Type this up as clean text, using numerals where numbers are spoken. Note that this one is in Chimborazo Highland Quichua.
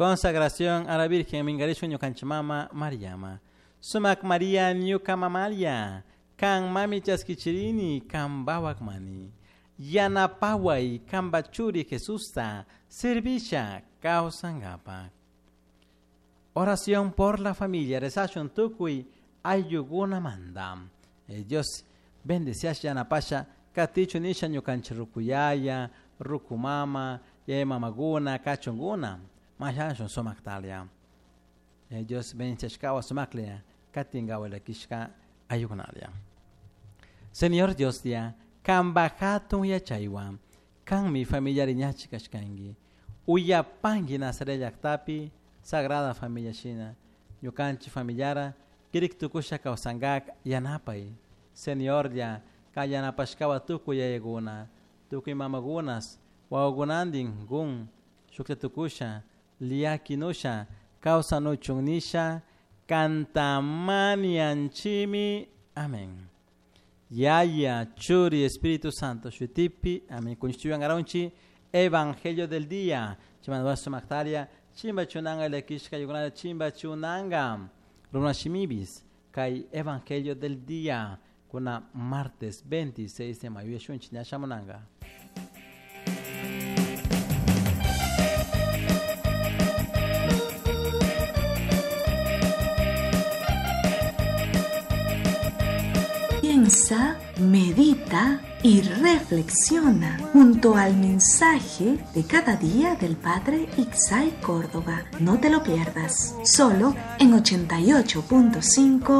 Consagración a la Virgen mingarishun ñukanchik mama Mariama. Sumak Maria ñuka mamalia. Kan mami chaskichirini kambawak mani. Yanapaway kamba churi Jesusta servisha kawsankapak. Oración por la familia. Rezashun tukuy ayllukunamanta. Dios bendeciasha yanapasha katichu nisha ñukanchik rukuyaya, rukumama, yaya mamakuna, kachunkuna. Mashashun sumaktalia. Dios bendeciashkawa sumaklia katinkawa llakishka ayllukunalia. Señor Dios dia, kamba hatun yachaywan, kanmi familiari ñachi kashkanki. Uyapanki Nazaret llaktapi Sagrada Familia shina, ñukanchik familiara kirik tukusha kawsankak yanapay. Señor ya, kay yanapashkawa tukuy yayakuna, tukuy mamakunas, wawakunantin kun shukta tukusha, liakinusha, kawsanuchun nisha, kantamanianchimi. Amén. Yaya, Churi, Espíritu Santo, Shutipi, amén. Kunchuyangaraunchi, Evangelio del día. Chimanduasu Mactaria, Chimba Chunanga, Lekishka, Yugunada, Chimba Chunanga, Runashimibis, Kai Evangelio del día, kuna martes 26 de mayo, Yeshunchi, Nyashamunanga. Piensa, medita y reflexiona junto al mensaje de cada día del Padre Ixay Córdoba. No te lo pierdas, solo en 88.5